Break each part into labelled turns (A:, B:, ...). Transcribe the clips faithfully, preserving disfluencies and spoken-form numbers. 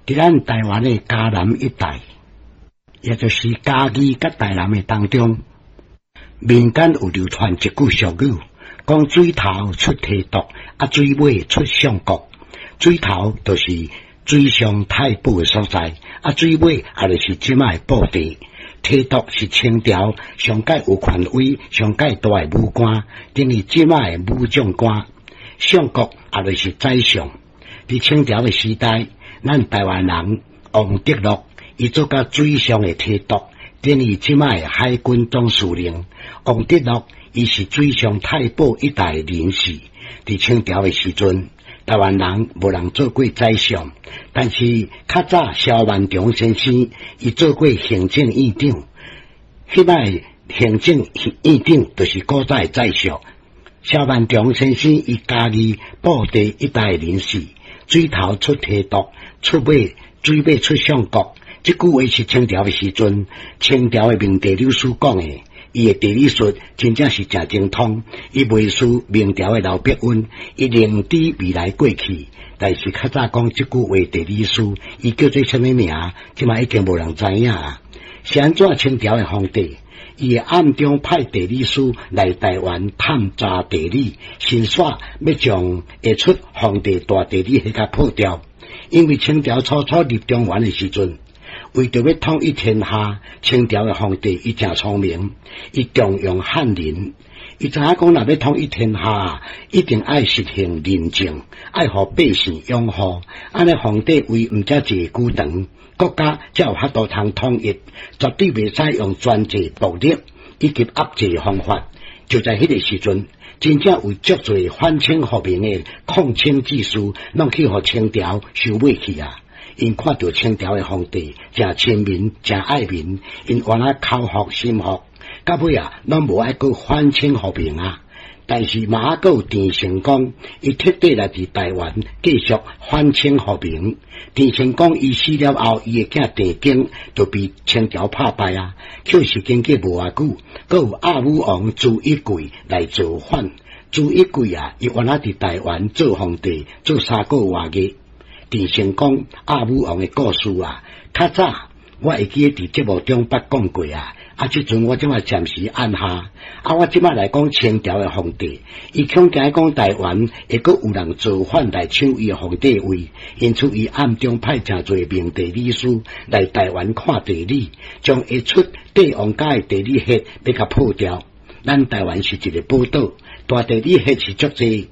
A: 佇咱台灣的嘉南一帶，也就是嘉義佮台南的當中，民間有流傳一句俗語，講水頭出提督，啊水尾出相國。水頭就是水上太保的所在，啊水尾也就是這擺的布袋。提督是清朝上蓋有權威、上蓋大的武官，等於這擺的武將官。相國也就是宰相。佇清朝的時代，咱台灣人王得祿，伊做甲水上的提督，等於這擺的海軍總司令。王得祿伊是水上太保一帶人士。佇清朝的時陣，台灣人無人做過宰相，但是較早蕭萬長先生伊做過行政院長，彼擺行政院長就是古早的宰相。蕭萬長先生伊嘉義布袋一帶人士，水頭出提督，出尾水尾出相國。這句話是清朝的時陣，清朝的明地理師講的。伊的地理術真正是誠精通，伊袂輸明朝的劉伯溫，伊認知未來過去。但是較早講這句話地理師，伊叫做啥物名？這擺已經無人知影啊。是按怎清朝的皇帝，伊會暗中派地理師來台灣探查地理，先煞欲將會出皇帝大地理彼共破掉。因為清朝初初入中原的時陣，為著欲統一天下，清朝的皇帝伊誠聰明，伊重用漢人。伊知影講，若欲統一天下，一定愛實行仁政，愛予百姓擁護。按呢皇帝位毋才坐久長，國家才有法度通統一，絕對袂使用專制暴力以及壓制方法。就在彼個時陣，真正有足濟反清復明的抗清志士，攏去予清朝收買去啊！𪜶看著清朝的皇帝誠親民、誠愛民，𪜶原來口服心服，到尾啊，攏無愛閣反清復明啊！但是嘛閣有鄭成功，伊徹底來佇台灣繼續反清復明。鄭成功伊死了後，伊的囝鄭經就被清朝拍敗啊！卻是經過無偌久，閣有阿武王朱一貴來造反。朱一貴啊，伊原來佇台灣做皇帝，做三個外月。鄭成功阿武王的故事啊，較早我會記得佇節目中捌講過啊。啊，這陣我這擺暫時按下。啊，我這擺來講清朝的皇帝，伊恐驚講台灣會閣有人造反來搶伊的皇帝位，因此伊暗中派誠濟明地理師來台灣看地理，將會出帝王家的地理學欲共破掉。咱台灣是一個寶島，大地理學是足濟。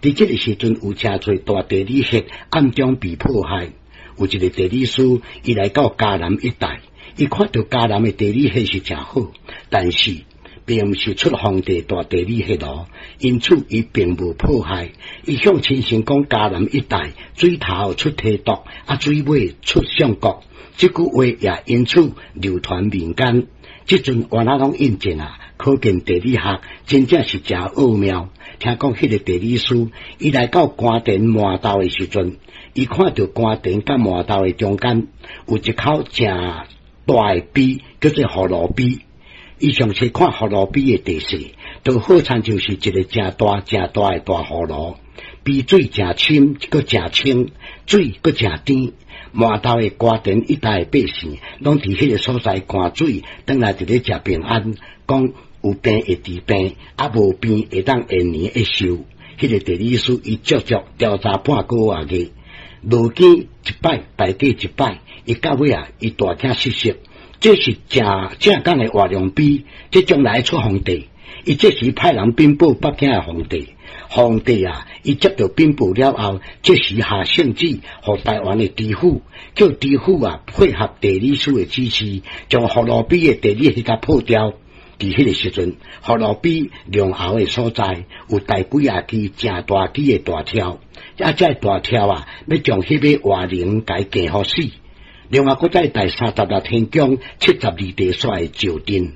A: 佇這個時陣有誠濟大地理學暗中被破壞。有一個地理師，伊來到嘉南一帶，伊看著嘉南的地理學是誠好，但是並毋是出皇帝大地理學咯，因此伊並無破壞。伊向親身講嘉南一帶水頭出提督，啊水尾出相國，這句話也因此流傳民間。這陣原來攏印證啊，可見地理學真正是誠奧妙。聽講彼個地理師，伊來到官田饃豆的時陣，伊看著官田佮饃豆的中間有一口誠大的陂，叫做葫蘆陂。伊詳細看葫蘆陂的地勢，就好親像是一個誠大誠大的大葫蘆，陂水誠深，閣誠清，水閣誠甜。饃豆的官田一帶的百姓，攏佇彼個所在灌水，轉來佇咧食平安，講有病會治病，啊無病會當延年益壽。彼個地理師伊足足調查半個外月，落井一擺，排過一擺，伊到尾啊，伊大驚失色。這是正正港的活龍陂，這將來出皇帝。伊這時派人稟報北京的皇帝，皇帝啊，伊接著稟報了後，即時下聖旨，予台灣的知府，叫知府啊配合地理師的指示，將葫蘆陂的地理學共破掉。佇彼個時陣，葫蘆陂龍喉的所在有大幾仔支誠大支的大柱，啊，這个大柱啊，欲將彼个活龍共伊釘予死。另外，閣再第三十六天宮七十二地煞的石陣，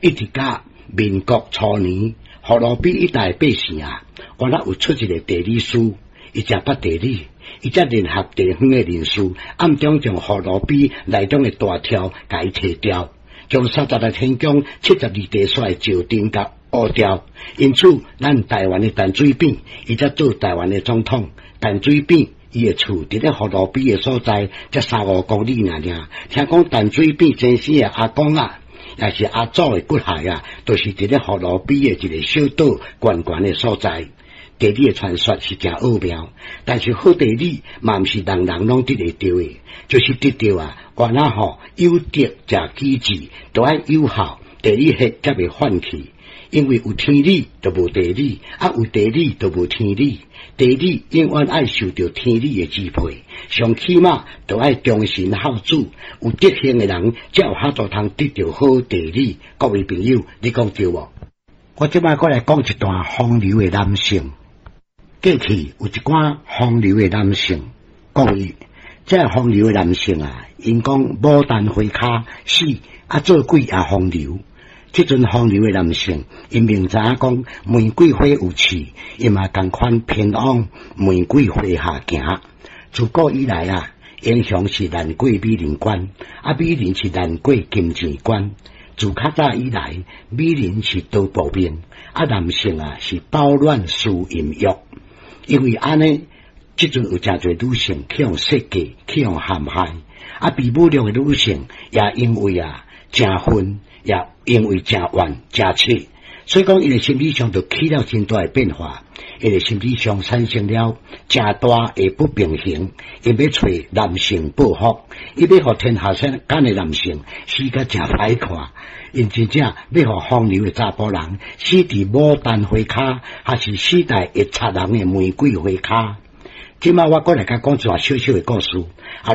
A: 一直到民國初年，葫蘆陂一帶百姓啊，原來有出一個地理師，伊誠捌地理，伊才聯合地方的人士，暗中將葫蘆陂內中的大柱共伊提掉，將三十六天宮七十二地煞的石陣共挖掉。因此，咱台灣的陳水扁，伊才做台灣的總統。陳水扁。伊的厝佇咧葫蘆邊的所在，才三五公里爾爾。聽講陳水扁先生的阿公啊，也是阿祖的骨骸啊，都是佇咧葫蘆邊的一個小島懸懸的所在。地理的傳說是誠奧妙，但是好地理嘛毋是人人攏得會著的，就是得著啊，原來吼有德才機智，都愛有效，地理學才袂泛去。因為有天理就無地理，啊有地理就無天理。地理永遠愛受著天理的支配，上起碼都愛忠臣孝子，有德行的人才有法度通得著好地理。各位朋友，你講對無？我這擺閣來講一段風流的男性。過去有一寡風流的男性，各位，這風流的男性啊，𪜶講牡丹花跤死啊，做鬼也風流。這陣風流的男性，𪜶明知影講玫瑰花有刺，伊嘛仝款偏往玫瑰花下行。自古以來啊，英雄是難過美人關，啊，美人是難過金錢關。自較早以來，美人是刀薄命，啊，男性啊是飽暖思淫欲。因為按呢，這陣有誠濟女性去予設計，去予陷害，啊，被侮辱的女性也因為啊，誠恨，也因為誠怨、誠切，所以講伊的心理上就起了真大的變化，伊的心理上產生了誠大的不平衡，伊欲揣男性報復，伊欲予天下間的男性死甲誠歹看，𪜶真正欲予風流的查埔人死佇牡丹花跤，還是死在會插人的玫瑰花跤。這擺我閣來共講一段小小的故事，啊，